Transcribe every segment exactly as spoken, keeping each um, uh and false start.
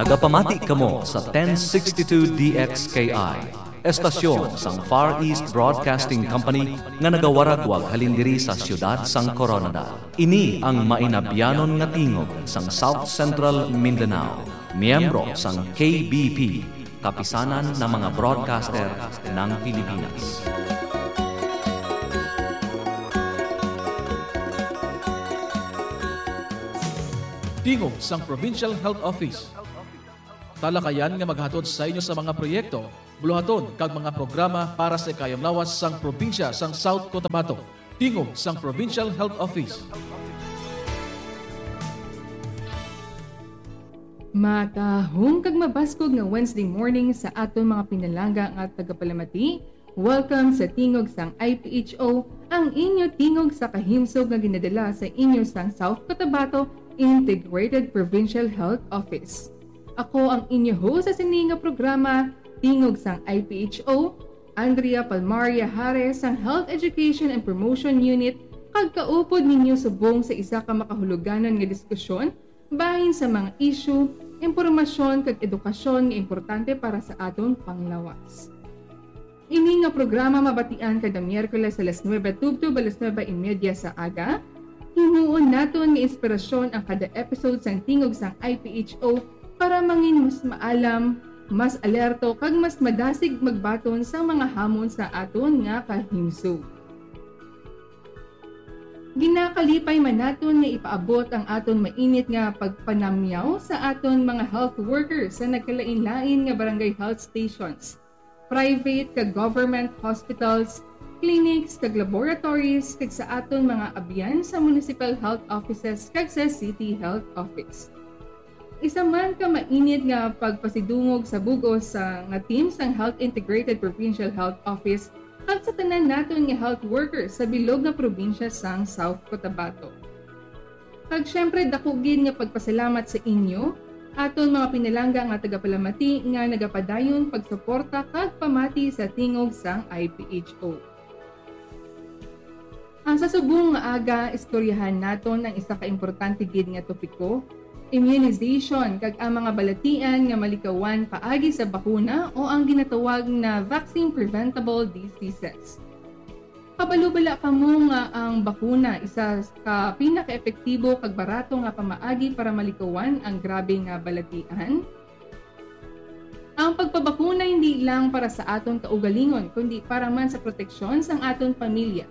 Nagapamati kamo sa ten sixty-two D X K I, estasyon sang Far East Broadcasting Company nga nagawaragwag halin diri sa siyudad sang Coronadal. Ini ang mainabyanon nga tingog sang South Central Mindanao, miyembro sang K B P, Kapisanan ng mga Broadcaster ng Pilipinas. Tingog sang Provincial Health Office. Talakayan nga maghatod sa inyo sa mga proyekto, buluhaton, kag mga programa para sa ikayong lawas sang probinsya sang South Cotabato. Tingog sang Provincial Health Office. Matahong kag mabaskog nga Wednesday morning sa aton mga pinalangga nga tagapalamati. Welcome sa Tingog sang I P H O, ang inyo tingog sa kahimsog nga ginadala sa inyo sang South Cotabato Integrated Provincial Health Office. Ako ang inyo host sa sini nga programa, Tingog sang I P H O, Andrea Palmaria Hares sang Health Education and Promotion Unit, kag kaupod ninyo subong sa isa ka makahuluganon nga diskusyon bahin sa mga isyu, impormasyon, kag edukasyon nga importante para sa aton panglawas. Ini nga programa mabatian kada Miyerkules alas nuebe tubtob alas nuebe y media sa aga. Himuon naton nga inspirasyon ang kada episode sang Tingog sang I P H O para mangin mas maalam, mas alerto, kag mas madasig magbaton sa mga hamon sa aton nga kahimsog. Ginakalipay man naton nga ipaabot ang aton mainit nga pagpanamyaw sa aton mga health workers sa nagkalain-lain nga barangay health stations, private kag government hospitals, clinics kag laboratories, kag sa aton mga abyan sa municipal health offices kag sa city health office. Isa man ka mainit nga pagpasidungog sa bug-os sa nga team sang Health Integrated Provincial Health Office kag sa tanan naton nga health workers sa bilog nga probinsya sang South Cotabato. Kag siyempre, dako gid nga pagpasalamat sa inyo, aton mga pinalangga nga tagapalamati nga nagapadayon pagsuporta kag pamati sa tingog sang I P H O. Ang sa subong nga aga, istoryahan naton ang isa ka importante gid nga topiko, immunization, kag ang mga balatian nga malikawan paagi sa bakuna o ang ginatawag na vaccine preventable diseases. Kabalo bala kamo nga ang bakuna isa ka pinakaepektibo kag barato nga pamaagi para malikawan ang grabe nga balatian? Ang pagpabakuna hindi lang para sa aton kaugalingon, kundi para man sa proteksyon sang aton pamilya,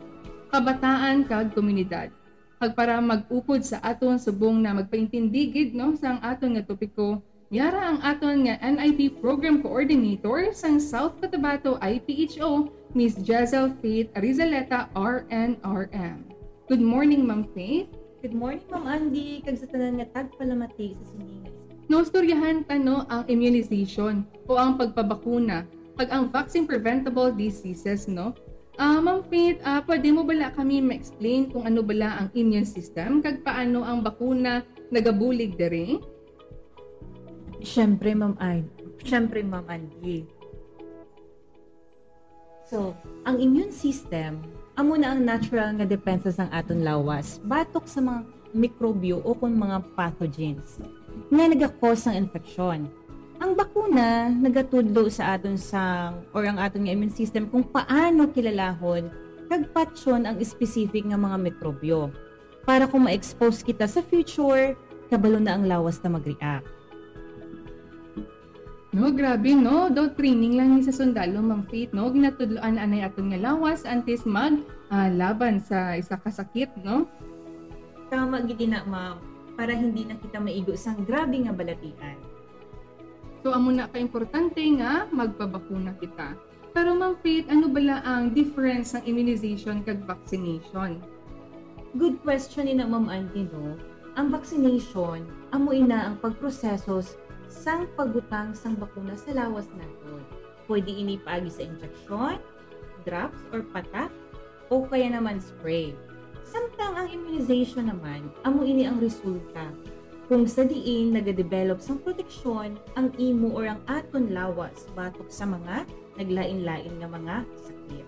kabataan, kag komunidad. Kag para mag-upod sa aton subong na magpaintindi gid, no, sang aton nga topiko, yara ang aton nga N I P Program Coordinator sang South Cotabato I P H O, Miss Jezelle Faith Rizaleta, R N R M. Good morning, Ma'am Faith. Good morning, Ma'am Andy, kag sa tanan nga tagpalamati sa sini nga istorya. No, istoryahan ta, no, ang immunization o ang pagpabakuna kag ang vaccine preventable diseases, no? Ah, Ma'am Faith, ah, pwede mo bala kami ma-explain kung ano bala ang immune system kag paano ang bakuna nagabulig diri? Siyempre, Ma'am An-, siyempre, Ma'am Andy. So, ang immune system, amo na ang natural nga depensa sang aton lawas batok sa mga mikrobyo o kon mga pathogens nga naga-cause sang infeksyon. Ang bakuna nagatudlo sa aton sang, or ang aton nga immune system kung paano kilalahon kag patyon ang specific nga mga mikrobyo. Para kung ma-expose kita sa future, kabalo na ang lawas na mag-react. No, grabe, no? Daw training lang ni sa sundalo, Ma'am Faith, no? Ginatudloan anay aton nga lawas antes mag, ah, laban sa isa ka sakit, no? Tama gid na, ma'am, para hindi na kita maigo sang grabe nga balatian. So, amo na ka importante nga magpabakuna kita. Pero, Ma'am Faith, ano bala ang difference sang immunization kag vaccination? Good question ina, Ma'am Andy, no? Ang vaccination, amo ina ang pagproseso s-, sang pagbutang sang bakuna sa lawas naton. Pwede ini paagi sa injeksyon, drops or patak, o kaya naman spray. Samtang ang immunization naman, amo ini ang resulta kung sa diin nagadevelop sang proteksyon ang imo or ang aton lawas batok sa mga naglain-lain nga mga sakit.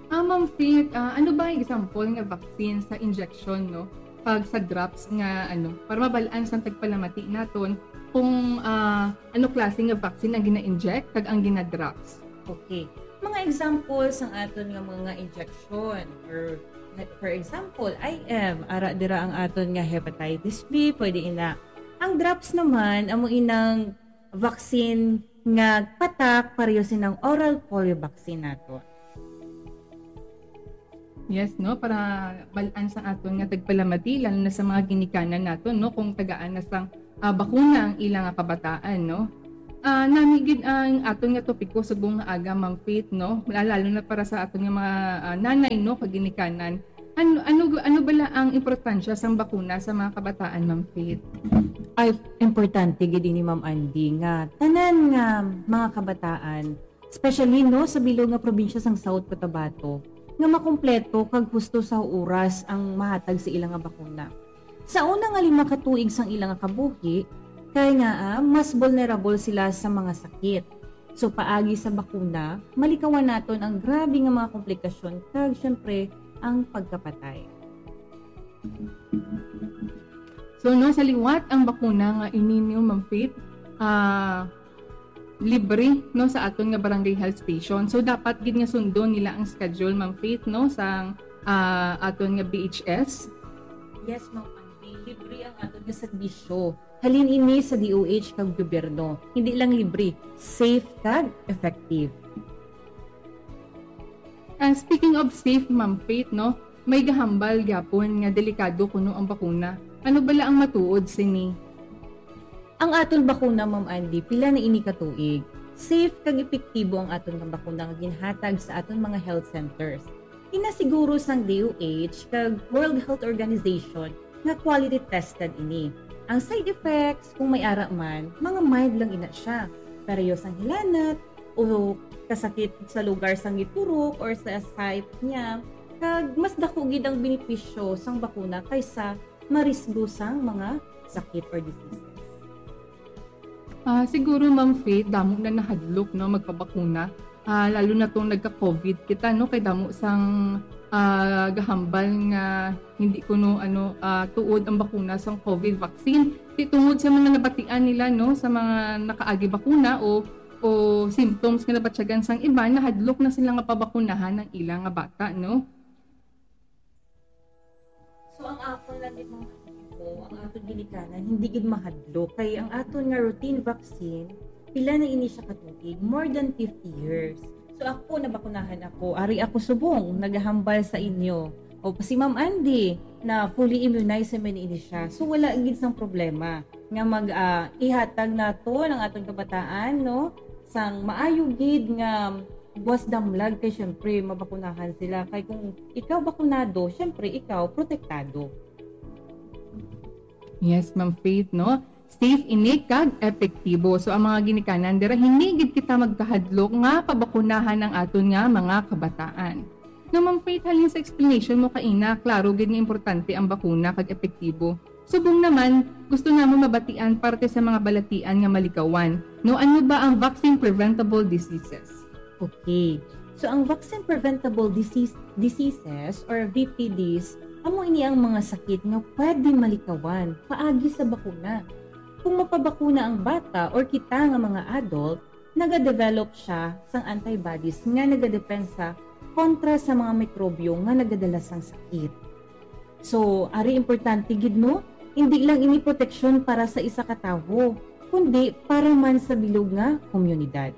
Ah, Ma'am Faith, ah, ano ba ang example nga vaccine sa injection, no? pag sa drops nga, ano, para mabal-an sang tagpalamati naton kung, ah, ano klase nga vaccine ang gina-inject kag ang gina-drops. Okay. Mga example sang aton nga mga injection, or, for example, I M, ara dira ang aton nga hepatitis B, pwede ina. Ang drops naman, amo inang vaccine nga patak, pareho sinang oral polio vaccine nato. Yes, no? Para bal-an sang aton nga tagpalamati, lalo na sa mga ginikanan naton, no? Kung tagaan na sang, ah, bakuna ang ila nga kabataan, no? Ah, nami gid ang aton nga topiko subong nga aga, Ma'am Faith, no? La-, lalo na para sa aton nga mga, ah, nanay, no, kag ginikanan. Ano, ano, ano bala ang importansya sang bakuna sa mga kabataan, Ma'am Faith? Ay, importante gid ini, Ma'am Andy, nga tanan nga mga kabataan, especially, no, sa bilog nga probinsya sang South Cotabato, nga makumpleto kag husto sa oras ang mahatag sa ila nga bakuna. Sa una nga lima ka tuig sang ila nga kabuhi, kay nga, ah, mas vulnerable sila sa mga sakit. So, paagi sa bakuna, malikawan naton ang grabe nga mga komplikasyon kag, syempre, ang pagkapatay. So, no, sa liwat ang bakuna nga ini, no, Ma'am Faith, ah, libre, no, sa aton nga barangay health station. So, dapat gid nga sundon nila ang schedule, Ma'am Faith, no, sang, ah, aton nga B H S. Yes, Ma'am Andy, libre ang aton nga serbisyo. Halin ini sa D O H kag gobyerno. Hindi lang libre, safe kag effective. Ah, speaking of safe, Ma'am Faith, no, may gahambal gyapon nga delikado kuno ang bakuna. Ano bala ang matuod sini? Ang aton bakuna, Ma'am Andy, pila na ini ka tuig? Safe kag epektibo ang aton nga bakuna nga ginhatag sa aton mga health centers. Ginasiguro sang D O H kag World Health Organization nga quality tested ini. Ang side effects, kung may ara man, mga mild lang ina siya. Pareho sang hilanat o kasakit sa lugar sang giturok or sa site niya, kag mas dako gid ang benepisyo sang bakuna kaysa marisgo sang mga sakit or diseases. Ah, siguro, Ma'am Faith, damo na nahadlok, no, magpabakuna. Ah, lalo na tong nagka-COVID kita, no, kay damo sang, ah, gahambal nga hindi kuno, ano, ah, tuod ang bakuna sang COVID vaccine. Ti tungod sa mga nabatian nila, no, sa mga nakaagi bakuna o, o symptoms nga nabatyagan sang iban, nahadlok na sila nga pabakunahan ang ila nga bata, no? So, ang akon lang gid, mga amigo, ang aton ginikanan, hindi gid mahadlok. Kay ang aton nga routine vaccine, pila na ini siya ka tuig? More than fifty years. So, ako, nabakunahan ako. Ari ako subong, nagahambal sa inyo. O, si Ma'am Andy, na fully immunized naman ini siya. So, wala gid sang problema nga mag, ah, ihatag nato ang aton kabataan, no? Sang maayo gid nga buwas damlag, kay syempre mabakunahan sila. Kay kung ikaw bakunado, syempre ikaw protektado. Yes, Ma'am Faith, no? Safe ini kag epektibo. So, ang mga ginikanan dira, hindi gid kita magkahadlok nga pabakunahan ang aton nga mga kabataan. No, Ma'am Faith, halin sa explanation mo kaina, klaro gid nga importante ang bakuna kag epektibo. Subong naman, gusto namon mabatian parte sa mga balatian nga malikawan. No, ano ba ang vaccine preventable diseases? Okay. So, ang vaccine preventable disease, diseases or V P Ds, amo ini ang mga sakit nga pwede malikawan paagi sa bakuna. Kung mapabakuna ang bata or kita nga mga adult, nagadevelop siya sang antibodies nga nagadepensa kontra sa mga mikrobyo nga nagadala sang sakit. So, ari importante gid, no? Hindi lang ini proteksyon para sa isa ka tawo, kundi para man sa bilog nga komunidad.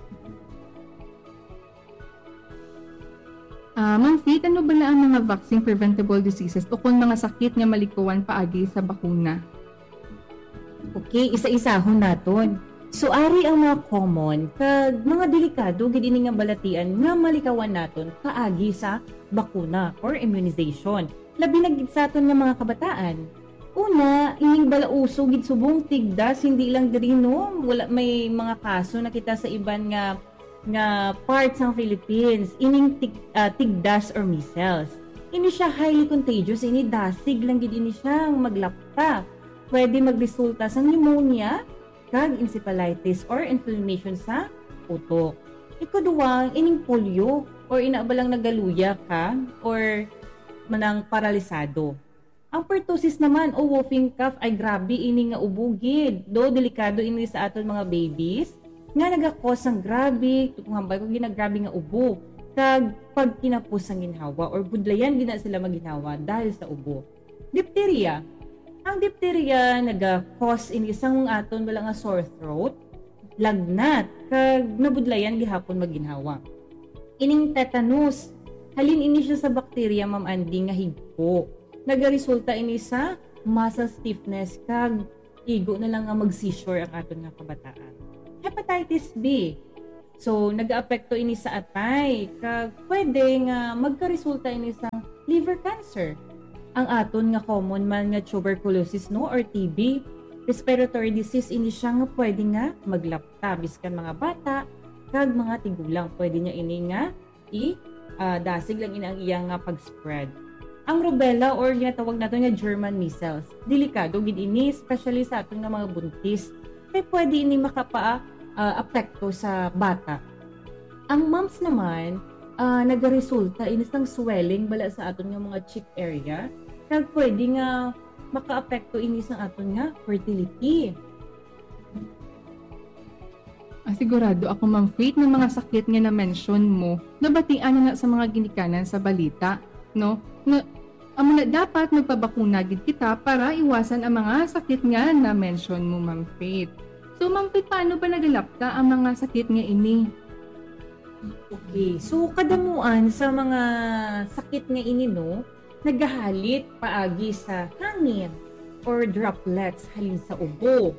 Ah, Ma'am Faith, ano bala ang mga vaccine preventable diseases o kung mga sakit nga malikawan paagi sa bakuna? Okay, isa-isahon naton. So, ari ang mga common kag mga delikado gid ini nga balatian nga malikawan naton paagi sa bakuna or immunization. Labi na gid sa aton nga mga kabataan. Una, ining balauso gid subong tigdas, hindi lang diri, no? Wala, may mga kaso na kita sa iban nga, nga part sang Philippines. Ining tig-, ah, tigdas or measles. Ini siya highly contagious, ini dasig lang gid ini siya ang maglapta. Pwede magresulta sa pneumonia kag encephalitis or inflammation sa utok. Ikaduwa, ining polio or ina ba lang nagaluya ka or manang paralisado. Ang pertussis naman o whooping cough ay grabe ini nga ubo gid. Do, delikado ini sa aton mga babies nga nagakos sang grabe, kung hambal ko, ginagrabe nga ubo, kag pagkinapos sang ginhawa or budlayan gid na sila magginhawa dahil sa ubo. Diphtheria. Ang diphtheria naga-cause ini sang aton bala nga sore throat, lagnat, kag nabudlayan gihapon magginhawa. Ining tetanus, halin ini siya sa bakterya, Ma'am Andy, nga higpo. Nagaresulta ini sa muscle stiffness kag igo na lang nga mag-seizure ang aton nga kabataan. Hepatitis B. So, nagaapekto ini sa atay, kag pwede nga magkaresulta ini sa liver cancer. Ang aton nga common man nga tuberculosis, no, or T B, respiratory disease ini siya nga pwede nga maglapta biskan mga bata kag mga tigulang. Pwede niya ini nga i, ah, dasig lang ini ang iya nga pag-spread. Ang rubella or ginatawag nato nga German measles, delikado gid ini, especially sa aton nga mga buntis. Kay pwede ini makapa, ah, apekto sa bata. Ang mumps naman, ah, nagaresulta ini sang swelling bala sa aton nga mga cheek area, kag pwede nga makaapekto ini sa aton nga fertility. Ah, sigurado ako, Ma'am Faith, nga mga sakit nga na-mention mo, nabatian na na sa mga ginikanan sa balita, no? Na, amo na, dapat magpabakuna gid kita para iwasan ang mga sakit nga na-mention mo, Ma'am Faith. So, Ma'am Faith, paano ba nagalapta ang mga sakit nga ini? Okay, so kadamuan sa mga sakit nga ini, no, nagahalit paagi sa hangin or droplets halin sa ubo.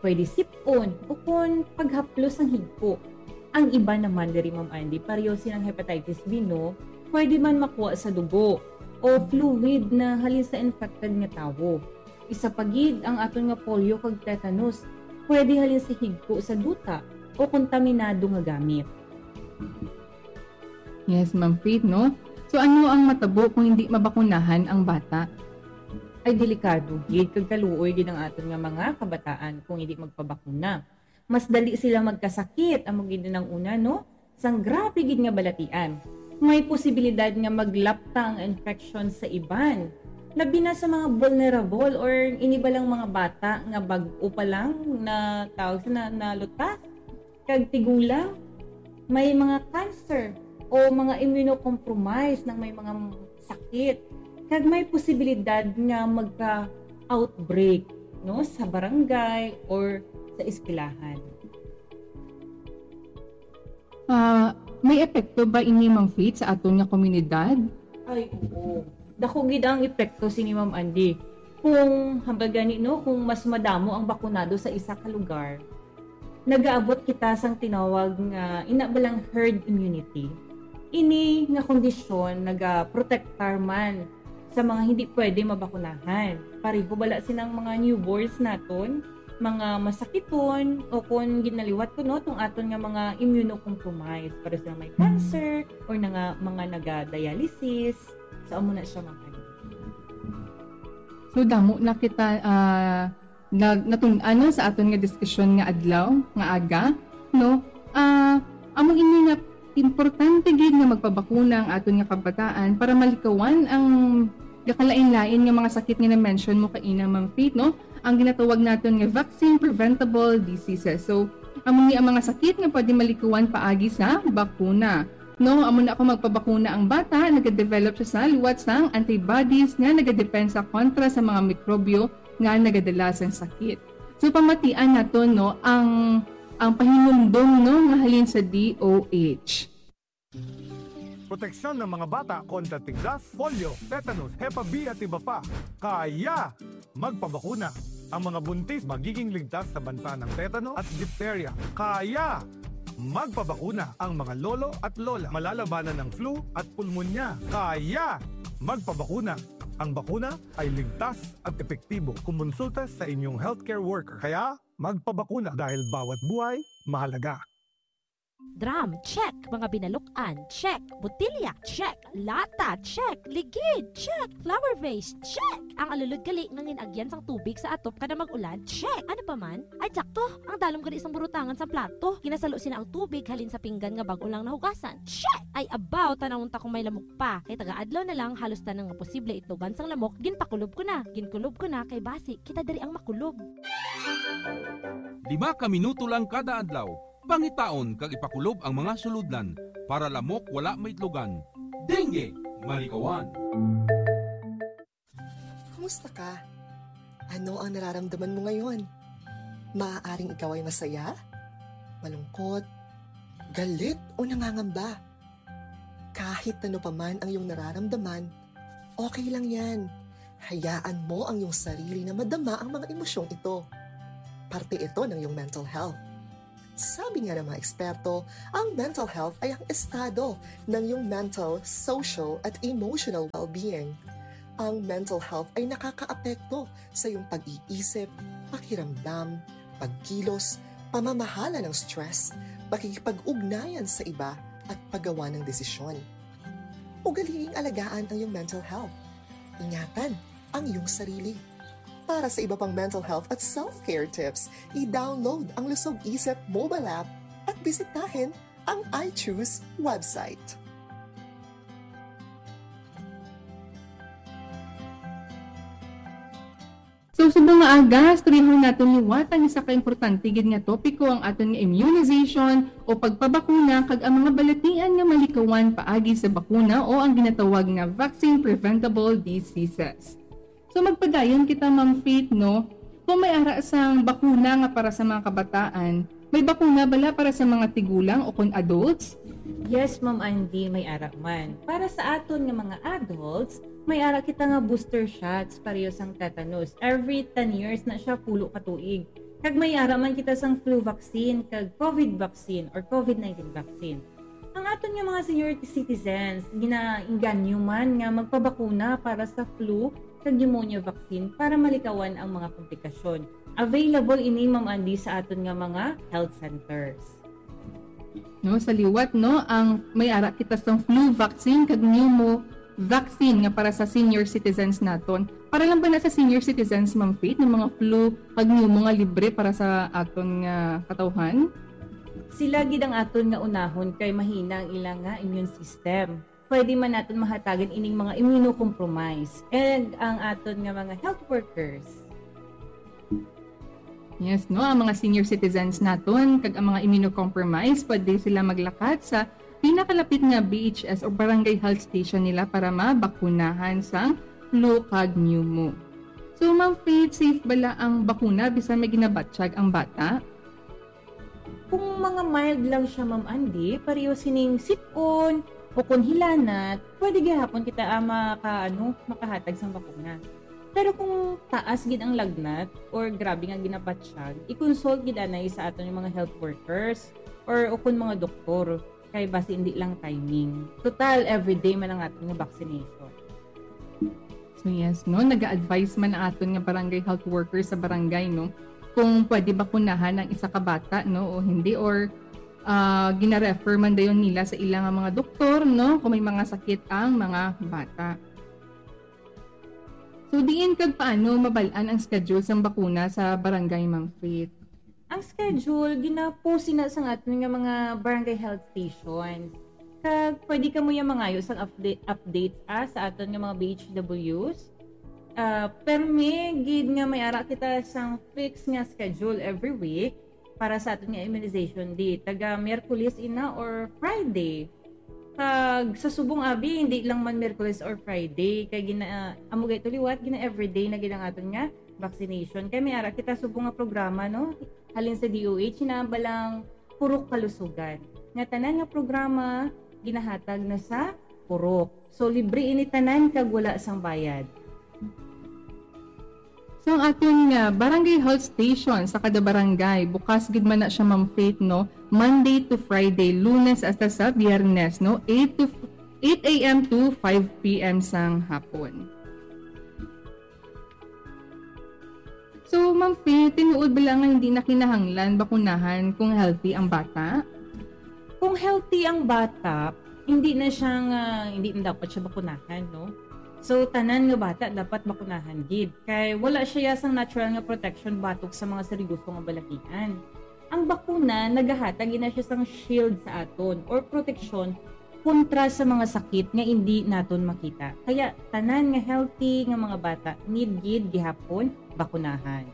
Pwede sip-on o kon paghaplos sang higpo. Ang iba naman diri, Ma'am Andy, pareho silang hepatitis B, no, pwede man makuha sa dugo o fluid na halin sa infected nga tawo. Isa pa gid ang aton nga polio kag tetanus, pwede halin sa higpo sa duta o kontaminado nga gamit. Yes, Ma'am Faith, no? So, ano ang matabo kung hindi mabakunahan ang bata? Ay, delikado gid kag kaluoy gid ang aton nga mga kabataan kung hindi magpabakuna. Mas dali sila magkasakit, amo gid nang una, no? Sang grabe gid nga balatian. May posibilidad nga maglapta ang infection sa iban. Labi na sa mga vulnerable or ini ba lang mga bata nga bag-o pa lang na tawag sa na, nalutas. Kag tigulang, may mga cancer o mga immunocompromised nang may mga sakit. Kag may posibilidad nga magka-outbreak, no, sa barangay or sa eskwelahan. Ah, may epekto ba ini, Ma'am Faith, sa aton nga komunidad? Ay, oo. Dako gid ang epekto sini, Ma'am Andy. Kung hambal gani, no, kung mas madamo ang bakunado sa isa ka lugar, nagaabot kita sang tinawag nga ina ba lang herd immunity. Ini nga kondisyon nagaprotektar man sa mga hindi pwede mabakunahan. Pareho bala sinang mga newborns naton, mga masakiton, o kung ginaliwat ko, no, tong aton nga mga immunocompromised, para sa may cancer or na nga mga naga-dialysis. So, amo na siya, mga kanina. So, damo na kita, ah, na, natun-an, no, sa aton nga diskusyon nga adlaw, nga aga, no? Ah, amo ini nga importante gid nga magpabakuna ang aton nga kabataan para malikawan ang gakalain-lain nga mga sakit nga na-mention mo kaina, Ma'am Faith, no? Ang ginatawag naton nga vaccine preventable diseases. So, amo ni ang mga sakit nga pwede malikawan paagi sa bakuna. No, amo na kung magpabakuna ang bata, nagadevelop siya sa liwat sang antibodies nga nagadepensa kontra sa mga mikrobyo nga nagadala sang sakit. So, pamatian naton, no, ang, ang pahinumdom, no, nga halin sa D O H. Proteksyon ng mga bata kontra tigdas, polio, tetanus, Hepa B at iba pa. Kaya magpabakuna. Ang mga buntis magiging ligtas sa banta ng tetanus at diphtheria. Kaya magpabakuna. Ang mga lolo at lola malalabanan ng flu at pulmonya. Kaya magpabakuna. Ang bakuna ay ligtas at epektibo. Kumonsulta sa inyong healthcare worker. Kaya magpabakuna dahil bawat buhay mahalaga. Drum, check. Mga binaluk-an, check. Botilya, check. Lata, check. Ligid, check. Flower vase, check. Ang alulod gali nga gin-agyan sang tubig sa atop kada mag-ulan, check. Ano pa man? Ay, sakto. Ang dalom gali sang burutangan sang plato. Ginasalo sina ang tubig halin sa pinggan nga bag-o lang nahugasan, check. Ay, abaw, tan-awon ta kung may lamok pa. Kay taga-adlaw na lang, halos tanan nga posible itlogan sang lamok, ginpakulob ko na. Ginkulob ko na kay basi kita diri ang makulob. Lima ka minuto lang kada adlaw. Pangitaon kag ipakulob ang mga sulodlan para lamok wala maitlogan. Dengue, malikawan. Kumusta ka? Ano ang nararamdaman mo ngayon? Maaaring ikaw ay masaya, malungkot, galit o nangangamba. Kahit ano pa man ang iyong nararamdaman, okay lang yan. Hayaan mo ang iyong sarili na madama ang mga emosyong ito. Parte ito ng iyong mental health. Sabi nga ng mga eksperto, ang mental health ay ang estado ng iyong mental, social, at emotional well-being. Ang mental health ay nakakaapekto sa iyong pag-iisip, pakiramdam, pagkilos, pamamahala ng stress, pakikipag-ugnayan sa iba, at paggawa ng desisyon. Ugaliing alagaan ang iyong mental health. Ingatan ang iyong sarili. Para sa iba pang mental health at self-care tips, i-download ang Lusog Isip mobile app at bisitahin ang I Choose website. So, subong nga aga, istoryahan naton liwat ang isa ka importante gid nga topiko, ang aton nga immunization o pagpabakuna, kag ang mga balatian nga malikawan paagi sa bakuna o ang ginatawag nga vaccine preventable diseases. So, magpadayon kita, Ma'am Faith, no? Kung may ara sang bakuna nga para sa mga kabataan, may bakuna bala para sa mga tigulang o kon adults? Yes, Ma'am Andy, may ara man. Para sa aton nga mga adults, may ara kita nga booster shots pareho sang tetanus. Every ten years na siya, pulo ka tuig. Kag may ara man kita sang flu vaccine kag COVID vaccine or COVID nineteen vaccine. Ang aton nga mga senior citizens, ginainganyo man nga magpabakuna para sa flu kag pneumonia vaccine para malikawan ang mga komplikasyon. Available ini, Ma'am Andy, sa aton nga mga health centers. No, sa liwat, no, ang may ara kita sang flu vaccine kag pneumo vaccine nga para sa senior citizens naton. Para lang ba na sa senior citizens, Ma'am Faith, ng mga flu kag pneumo nga libre para sa aton nga katawhan? Sila gid ang aton nga unahon kay mahina ang ila nga immune system. Pwede man naton mahatagan ining mga immunocompromised and ang aton nga mga health workers. Yes, no, ang mga senior citizens naton kag ang mga immunocompromised, pwede sila maglakat sa pinakalapit nga B H S o barangay health station nila para mabakunahan sang flu kag pneumo. So, Ma'am Faith, safe bala ang bakuna bisan may ginabatyag ang bata? Kung mga mild lang siya, Ma'am Andy, pareho sining sipon o kung hilanat, pwede gihapon kita ah, maka, ano, makahatag sang bakuna. Pero kung taas gid ang lagnat or grabe nga ginabatyag, i-consult gid anay sa aton nga mga health workers or o kung mga doktor, kay basi hindi lang timing. Total, everyday man ang aton nga vaccination. So yes, no, naga-advise man ang aton nga barangay health worker sa barangay, no, kung pwede bakunahan ang isa ka bata, no, o hindi, or ah, gina-refer man dayon nila sa ila nga mga doktor, no, kung may mga sakit ang mga bata. So diin kag paano mabal-an ang schedule sang bakuna sa barangay, Ma'am Faith? Ang schedule gina-post na sang aton nga mga barangay health station. Kag pwede kamo ya mangayo sang update, update ah, sa aton nga mga B H Ws. Ah, permi gid nga may ara kita sang fixed nga schedule every week para sa aton nga immunization day. Taga Miyerkules ina or Friday. Kag sa subong abi, hindi lang man Miyerkules or Friday, kay gina amo gay to liwat, gina everyday na gid ang aton nga vaccination. Kay may ara kita subong nga programa, no, halin sa D O H, hinabalang Purok Kalusugan, nga tanan nga programa ginahatag na sa purok. So libre ini tanan kag wala sang bayad. So ang aton nga barangay health station sa kada barangay, bukas gid man na siya, Ma'am Faith, no? Monday to Friday, Lunes hasta sa Biyernes, no? eight to eight a m to five p m sang hapon. So, Ma'am Faith, tinuod bala nga hindi na kinahanglan bakunahan kung healthy ang bata? Kung healthy ang bata, hindi na siya nga, hindi na dapat siya bakunahan, no? So, tanan nga bata dapat bakunahan gid. Kay wala siya sang natural nga protection batok sa mga seryoso nga balahian. Ang bakuna, nagahatag gid na siya sang shield sa aton or proteksyon kontra sa mga sakit nga hindi naton makita. Kaya, tanan nga healthy nga mga bata need gid gihapon bakunahan.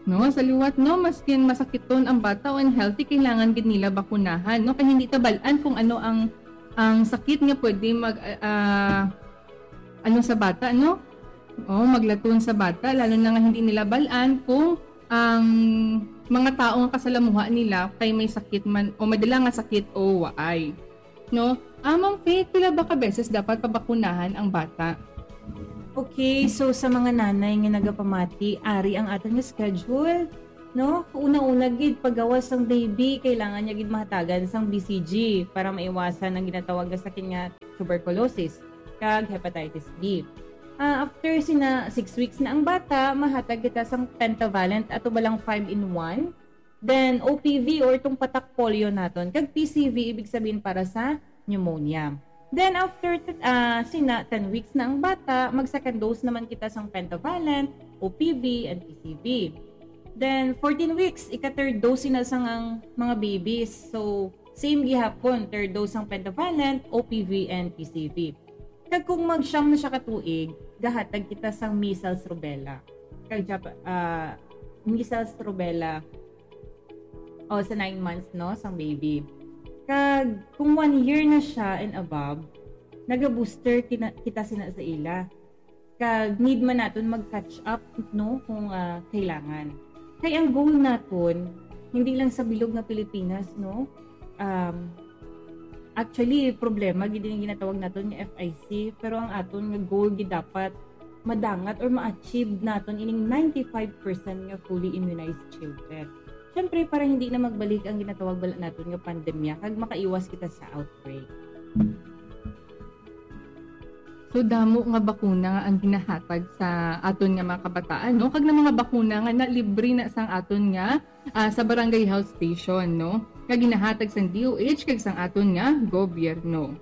No, sa liwat, no, maskin masakiton ang bata o unhealthy, kailangan gid nila bakunahan, no? Kay hindi ta bal-an kung ano ang ang sakit nga pwede mag ah, ano sa bata, no? O maglaton sa bata, lalo na nga hindi nila bal-an kung ang mga tawo nga kasalamuha nila kay may sakit man o may dala nga sakit o waay. No? Ah, Ma'am Faith, pila ba ka beses dapat pabakunahan ang bata? Okay, so sa mga nanay nga nagapamati, ari ang aton nga schedule, no? Una-una gid, paggawas sang baby, kailangan niya gid mahatagan sang B C G para maiwasan ang ginatawag nga sakit nga tuberculosis kag hepatitis B. Ah, after sina six weeks na ang bata, mahatag kita sang pentavalent ato ba lang five in one. Then, O P V or itong patak polio naton, kag P C V, ibig sabihin para sa pneumonia. Then, after t- ah, sina ten weeks na ang bata, mag-second dose naman kita sang pentavalent, O P V, and P C V. Then, fourteen weeks, ika-third dose na sang ang mga babies. So, same gihapon, third dose sang pentavalent, O P V, and P C V. Kag kung magsyam na siya ka tuig, gahatag kita sang measles, rubella. Kag Jap- ah, measles, rubella, o sa nine months, no, sang baby. Kag kung one year na siya and above, naga-booster kina- kita sina sa ila. Kag need man naton mag-catch up, no, kung ah, kailangan. Kay ang goal naton, hindi lang sa bilog nga Pilipinas, no? Um, actually, problema gid yung ginatawag naton nga F I C, pero ang aton nga goal gid dapat madangat or ma-achieve naton ining ninety-five percent nga fully immunized children. Siyempre, para hindi na magbalik ang ginatawag bala naton nga pandemya kag makaiwas kita sa outbreak. So, damo nga bakuna nga ang ginahatag sa aton nga mga kabataan, no? Kag na mga bakuna nga nalibre na sang aton nga ah, sa barangay health station, no? Nga ginahatag sang D O H kag sang aton nga gobyerno.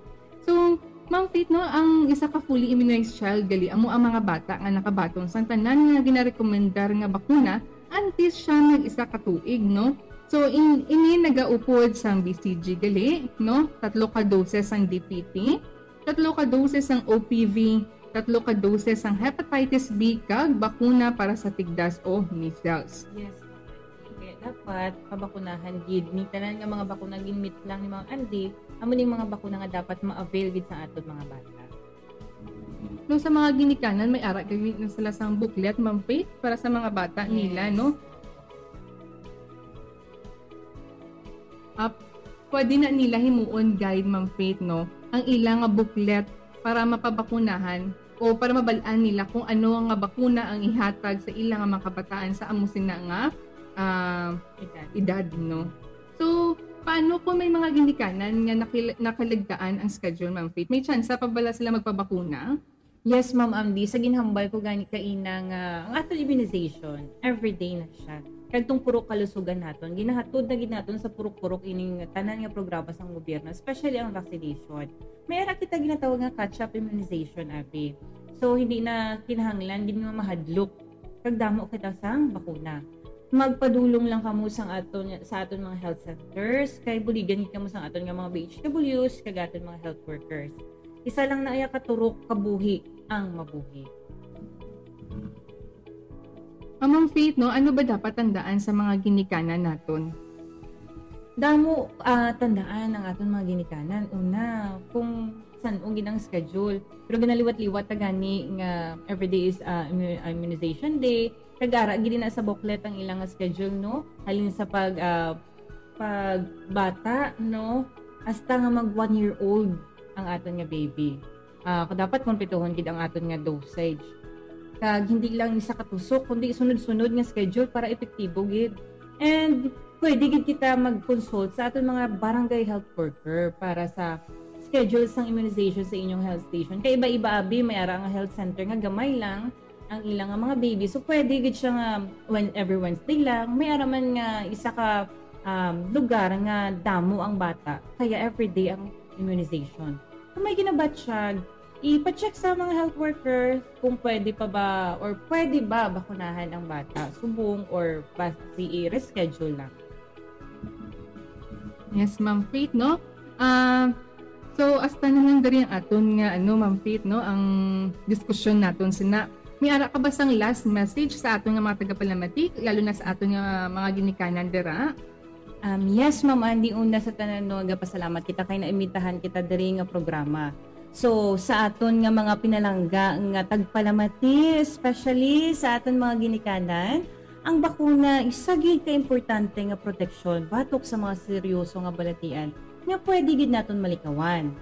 So, Ma'am Faith, no, ang isa ka fully immunized child gali amo ang mga bata nga nakabaton sang tanan nga ginarekomendar nga bakuna antes siya nag-isa ka tuig, no? So, in, ini nagaupod sang B C G gali, no? Tatlo ka doses sang D P T, tatlo ka doses sang O P V, tatlo ka doses sang hepatitis B, kag bakuna para sa tigdas o measles. Yes, ma'am. Kaya dapat pabakunahan gid. Ni tanan nga mga bakuna ginmit lang ni Ma'am Andy, amo ning mga bakuna nga dapat ma-avail gid sa aton mga bata. No, sa mga ginikanan, may ara gani na sila sang booklet, Ma'am Faith, para sa mga bata nila, Yes. No? Ap, pwede na nila himuon guide, Ma'am Faith, no? Ang ila nga booklet para mapabakunahan o para mabal-an nila kung ano nga bakuna ang ihatag sa ila nga mga kabataan sa amo sina nga ah, Edad. edad, no? So, paano kung may mga ginikanan nga nakil- nakaligtaan ang schedule, Ma'am Faith? May tsansa pa bala sila magpabakuna? Yes, Ma'am Amdi. Sa ginhambal ko gani kaina nga ang aton immunization, everyday na siya. Kag tong purok kalusugan naton, ginahatod na gid naton sa purok-purok ining tanan nga programa sang gobyerno, especially ang vaccination. May ara kita ginatawag nga catch-up immunization, abi. So, hindi na kinahanglan gid nga mahadlok kag damo kita sang bakuna. Magpadulong lang kamo sang aton, sa aton mga health centers, kay buligan gid kamo sang aton nga mga B H Ws kag aton mga health workers. Isa lang na iya ka turok kabuhi ang mabuhi. Ah, Ma'am Faith, no, ano ba dapat tandaan sa mga ginikanan naton? Damo ah, tandaan ang aton mga ginikanan. Una, kung san-o gid ang schedule. Pero ginaliwat-liwat ta gani nga everyday is ah, immu- ah, immunization day. Kag ara gid na sa booklet ang ilang nga schedule, no? Halin sa pag ah, pagbata, no? Hasta nga mag one year old ang aton nga baby. Ah, dapat kumplituhon gid ang aton nga dosage. Kag hindi lang isa ka tusok, kundi sunod-sunod nga schedule para epektibo gid. And pwede gid kita mag-consult sa aton mga barangay health worker para sa schedule sang immunization sa inyong health station. Kay iba-iba, abi, may ara nga health center nga gamay lang ang ilang nga mga baby. So, pwede gid siya nga when, every Wednesday lang. May ara man nga isa ka um, lugar nga damo ang bata, kaya everyday ang immunization. Kung may ginabatsyag, ipa-check sa mga health worker kung pwede pa ba or pwede ba bakunahan ang bata subong or basi i-reschedule lang. Yes, Ma'am Faith, no? Ah, so, hasta na lang diri ang aton nga, ano, Ma'am Faith, no? Ang diskusyon naton sina. May ara ka ba sang last message sa aton nga mga tagapalamati, lalo na sa aton nga mga ginikanan dira? Um, yes, Ma'am Andy, una sa tanan, no, nagapasalamat kita kay naimitahan kita diri nga programa. So, sa aton nga mga pinalangga nga tagpalamati, especially sa aton mga ginikanan, ang bakuna isa gid ka importante nga proteksyon batok sa mga seryoso nga balatian nga pwede gid naton malikawan.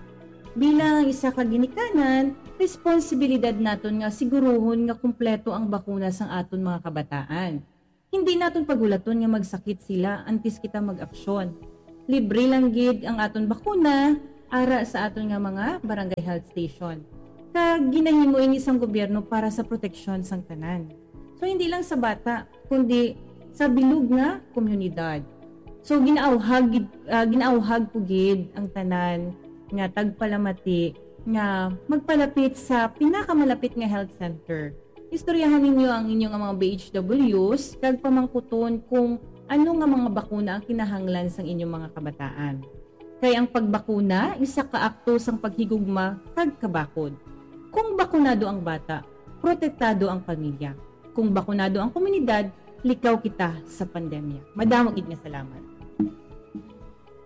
Bilang isa ka ginikanan, responsibilidad naton nga siguruhon nga kumpleto ang bakuna sang aton mga kabataan. Hindi naton paghulaton nga magsakit sila antes kita mag-aksyon. Libre lang gid ang aton bakuna ara sa aton nga mga barangay health station. Kag ginahimo ini sang gobyerno para sa proteksyon sang tanan. So, hindi lang sa bata, kundi sa bilog nga komunidad. So, ginaawhag gid, ah, ginaawhag ko gid ang tanan nga tagpalamati nga magpalapit sa pinakamalapit nga health center. Istoryahan ninyo ang inyo nga mga B H Ws kag pamangkuton kung ano nga mga bakuna ang kinahanglan sang inyong mga kabataan. Kay ang pagbakuna isa ka akto sang paghigugma kag kabakod. Kung bakunado ang bata, protektado ang pamilya. Kung bakunado ang komunidad, likaw kita sa pandemya. Madamo gid nga salamat.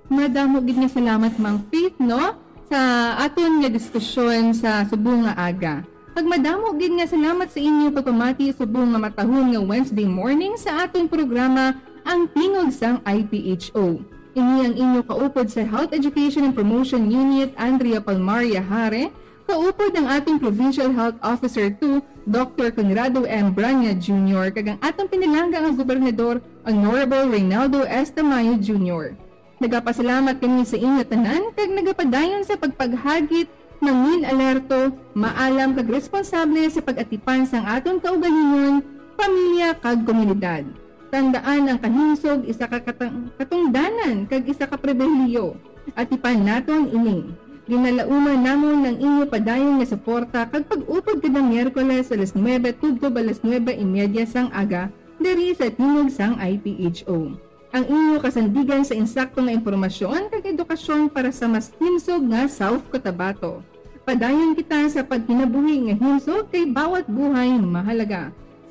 Madamo gid nga salamat, Ma'am Faith, no, sa aton nga diskusyon sa subong nga aga. Kag madamo gid nga salamat sa inyo pagpamati subong nga matahom nga Wednesday morning sa aton programa, Ang Tingog sang I P H O. Ini ang inyo kaupod sa Health Education and Promotion Unit, Andrea Palmaria Hare, kaupod ang ating Provincial Health Officer two, Doctor Conrado M. Branya Junior, kag ang atong pinalangga nga gobernador, Honorable Reynaldo S. Tamayo Junior. Nagapasalamat kami sa inyo tanan kag nagapadayon sa pagpaghagit, mangin-alerto, maalam kag responsable sa pag-atipan sang aton kaugalingon, pamilya kag komunidad. Tandaan, ang kahimsog isa ka katang- katungdanan kag isa ka pribilehiyo. Atipan naton ini. Ginalauman namon ang inyo padayon nga suporta kag pag-upod kada Miyerkules alas nuebe tubtob alas nuebe y media sang aga diri sa Tingog sang I P H O. Ang inyo kasandigan sa insakto nga impormasyon kag edukasyon para sa mas himsog nga South Cotabato. Padayon kita sa pagkinabuhi nga himsog kay bawat buhay mahalaga.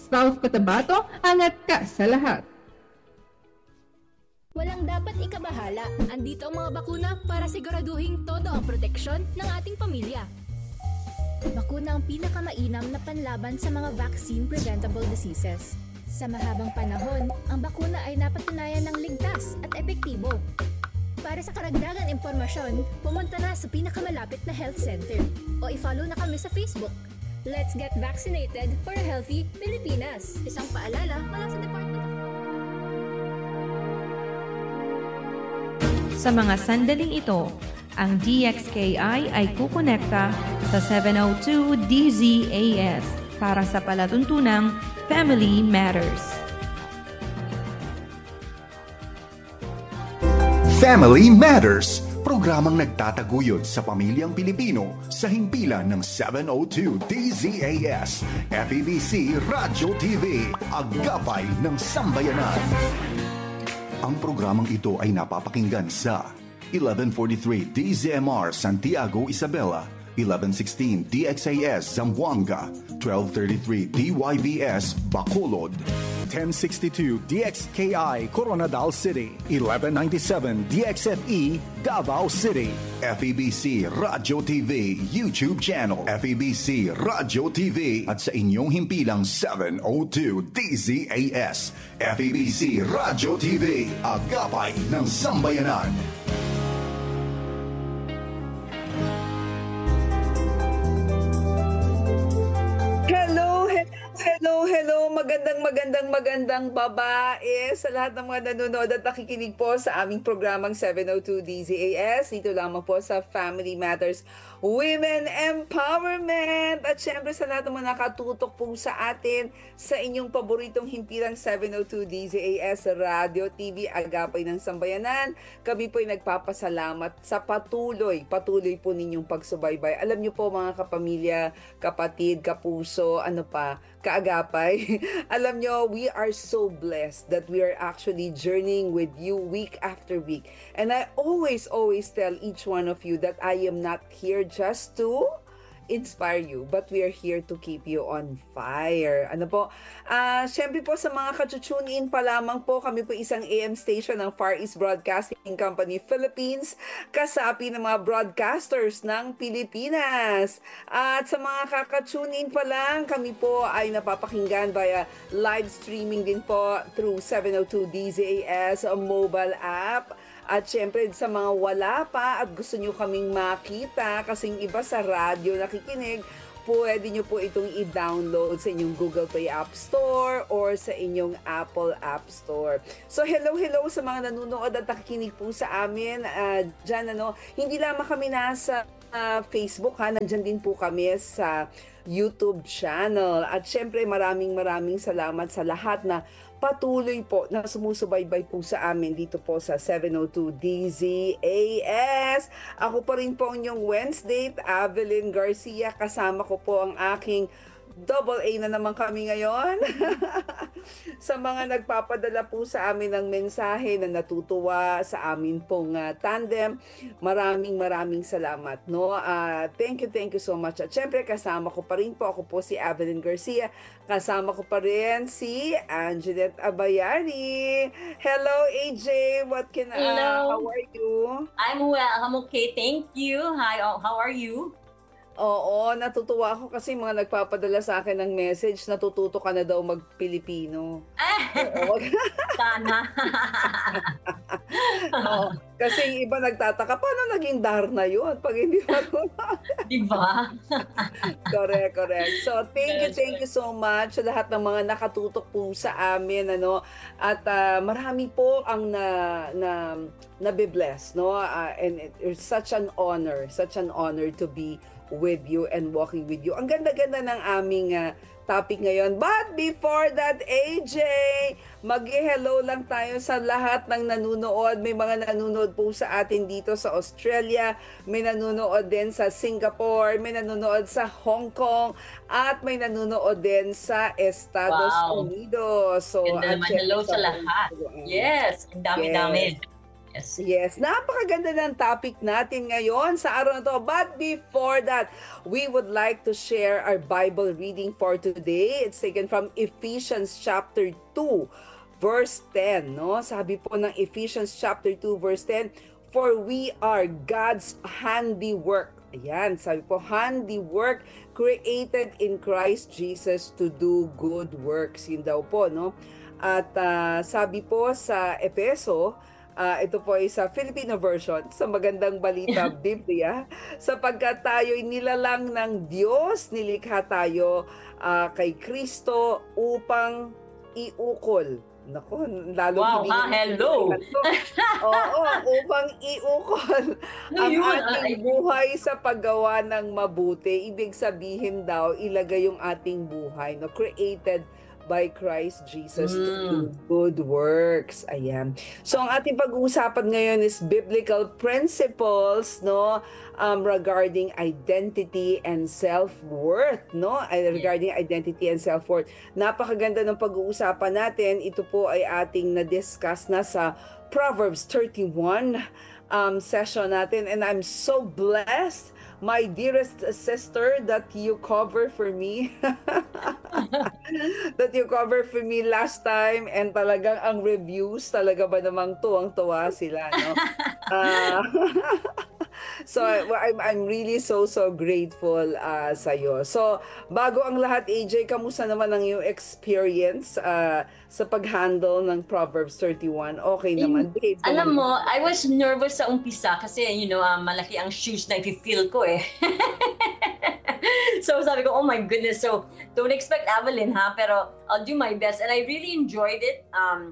South Cotabato, angat ka sa lahat! Walang dapat ikabahala. Andito ang mga bakuna para siguraduhing todo ang proteksyon ng ating pamilya. Bakuna ang pinakamainam na panlaban sa mga vaccine-preventable diseases. Sa mahabang panahon, ang bakuna ay napatunayan ng ligtas at epektibo. Para sa karagdagang impormasyon, pumunta na sa pinakamalapit na health center o i-follow na kami sa Facebook. Let's get vaccinated for a healthy Pilipinas! Isang paalala mula sa Department of Sa mga sandaling ito, ang D X K I ay kukonekta sa seven oh two D Z A S para sa palatuntunang Family Matters. Family Matters, programang nagtataguyod sa pamilyang Pilipino sa himpilan ng seven oh two D Z A S, F E B C Radyo T V, Agapay ng Sambayanan. Ang programang ito ay napapakinggan sa eleven forty-three D Z M R Santiago, Isabela, eleven sixteen D X A S Zamboanga, twelve thirty-three D Y V S Bacolod, ten sixty-two D X K I Koronadal City, eleven ninety-seven D X F E Davao City, F E B C Radyo T V YouTube channel, F E B C Radyo T V, at sa inyong himpilang seven oh two D Z A S, F E B C Radyo T V, Agapay ng Sambayanan. Hello, hello, hello, hello. Magandang, magandang, magandang babae sa lahat ng mga nanonood at nakikinig po sa aming programang seven oh two D Z A S. Dito lamang po sa Family Matters. Women Empowerment! At syempre sa lahat ng mga nakatutok po sa atin sa inyong paboritong himpilang seven oh two D Z A S Radio T V Agapay ng Sambayanan. Kami po'y nagpapasalamat sa patuloy, patuloy po ninyong pagsubaybay. Alam niyo po, mga kapamilya, kapatid, kapuso, ano pa, kaagapay. Alam nyo, we are so blessed that we are actually journeying with you week after week. And I always, always tell each one of you that I am not here just to inspire you, but we are here to keep you on fire. Ano po? Ah, syempre po, sa mga ka-tune in pa lamang po, kami po isang A M station ng Far East Broadcasting Company Philippines, kasapi ng mga broadcasters ng Pilipinas. At sa mga kaka-tune in pa lang, kami po ay napapakinggan via live streaming din po through seven oh two D Z A S mobile app. At syempre, sa mga wala pa at gusto nyo kaming makita, kasing iba sa radyo nakikinig, pwede nyo po itong i-download sa inyong Google Play App Store or sa inyong Apple App Store. So, hello, hello sa mga nanonood at nakikinig po sa amin, ah, dyan, ano. Hindi lamang kami nasa, ah, Facebook, ha. Nandyan din po kami sa YouTube channel. At syempre, maraming, maraming salamat sa lahat na patuloy po na sumusubaybay po sa amin dito po sa seven oh two D Z A S. Ako pa rin po ang inyong Wednesday, Avelyn Garcia. Kasama ko po ang aking double A na naman kami ngayon. Sa mga nagpapadala po sa amin ng mensahe na natutuwa sa amin pong, ah, tandem, maraming, maraming salamat, no? Ah, thank you, thank you so much. At syempre, kasama ko pa rin po, ako po si Avelyn Garcia. Kasama ko pa rin si Anjanette Abayari. Hello, A J. What can, ah, Hello. How are you? I'm well. I'm okay. Thank you. Hi, oh, how are you? Oo, natutuwa ako kasi mga nagpapadala sa akin ng message, natututo ka na daw mag-Pilipino. Oo. Sana. Oo. Kasi yung iba nagtataka, paano naging Darna yun? Pag hindi marunong. Di ba? Correct, correct. So, thank you, Yes, thank you so much sa lahat ng mga nakatutok po sa amin, ano. At ah, marami po ang na na nabe-bless, no? Ah, and it, it's such an honor, such an honor to be with you and walking with you. Ang ganda-ganda ng aming ah, topic ngayon. But before that, A J, mag-hello lang tayo sa lahat ng nanonood. May mga nanonood po sa atin dito sa Australia, may nanonood din sa Singapore, may nanonood sa Hong Kong, at may nanonood din sa Estados Wow. Unidos. So, Ganda at naman. syempre Hello sa sa lahat. Hong Kong. Yes. Ang dami-dami. Yes. Yes, napakaganda ng topic natin ngayon sa araw na to. But before that, we would like to share our Bible reading for today. It's taken from Ephesians chapter two, verse ten, no? Sabi po ng Ephesians chapter two, verse ten, "For we are God's handiwork." Ayan, sabi po, "Handiwork, created in Christ Jesus to do good works." Yun daw po, no? At ah, sabi po sa Efeso, ah, ito po ay sa Filipino version, sa Magandang Balita Biblia, "Sapagkat tayo'y nilalang ng Diyos, nilikha tayo ah, kay Kristo upang iukol." Nako, lalo Wow, hindi ha? na Hello. Oo, upang iukol Ano ang yun? ating Ay, buhay sa paggawa ng mabuti. Ibig sabihin daw, ilagay yung ating buhay, no? Created by Christ Jesus to do Mm. good works. Ayan. So, ang ating pag-uusapan ngayon is biblical principles, no? Um, regarding identity and self-worth, no? Ay, Yes. regarding identity and self-worth. Napakaganda ng pag-uusapan natin. Ito po ay ating na-discuss na sa Proverbs thirty-one um, session natin. And I'm so blessed, my dearest sister, that you cover for me. That you cover for me last time. And talagang ang reviews, talaga ba namang tuwang-tuwa sila, no? Ah, so, I- I'm, I'm really so, so grateful ah, sa'yo. So, bago ang lahat, A J, kamusta naman ang iyong experience ah, sa pag-handle ng Proverbs thirty-one? Okay In- naman? Behave ka Alam naman? mo, I was nervous sa umpisa kasi, you know, ah, malaki ang shoes na i-fill ko eh. So sabi ko, "Oh my goodness." So don't expect Avelyn, ha, pero I'll do my best. And I really enjoyed it. Um,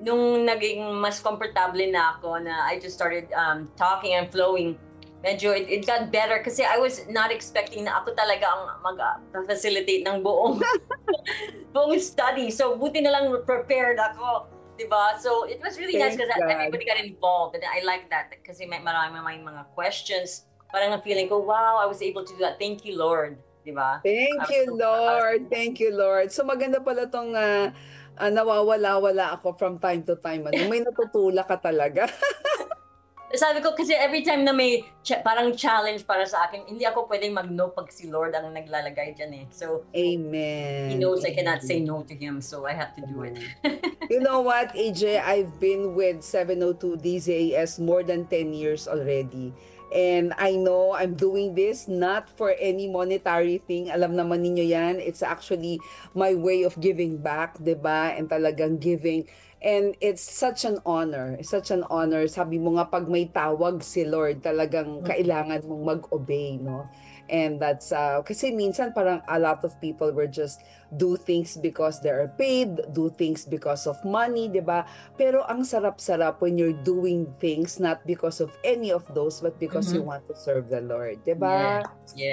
nung naging mas komportable na ako, na I just started um, talking and flowing, medyo it, it got better kasi I was not expecting na ako talaga ang mag-facilitate ng buong buong study. So, buti na lang prepared ako, di ba? So, it was really nice Thank kasi God. Everybody got involved. And I like that kasi may marami may mga questions. Parang ang feeling ko, wow, I was able to do that. Thank you, Lord. Di ba? Thank I was you, so- Lord. Thank you, Lord. So maganda pala tong ah, ah, nawawala-wala ako from time to time. Ano? May natutulak ka talaga. Sabi ko, kasi every time na may cha- parang challenge para sa akin, hindi ako pwedeng mag-no pag si Lord ang naglalagay dyan eh. So, Amen. He knows I cannot say Amen. No to Him, so I have to do it. You know what, A J? I've been with seven oh two D Z A S more than ten years already. And I know I'm doing this not for any monetary thing. Alam naman ninyo yan. It's actually my way of giving back, di ba? And talagang giving. And it's such an honor. It's such an honor. Sabi mo nga, pag may tawag si Lord, talagang kailangan mong mag-obey, no? And that's, uh, kasi minsan parang a lot of people will just do things because they are paid, do things because of money, di ba? Pero ang sarap-sarap when you're doing things not because of any of those, but because you Mhm. want to serve the Lord, di ba? Yeah.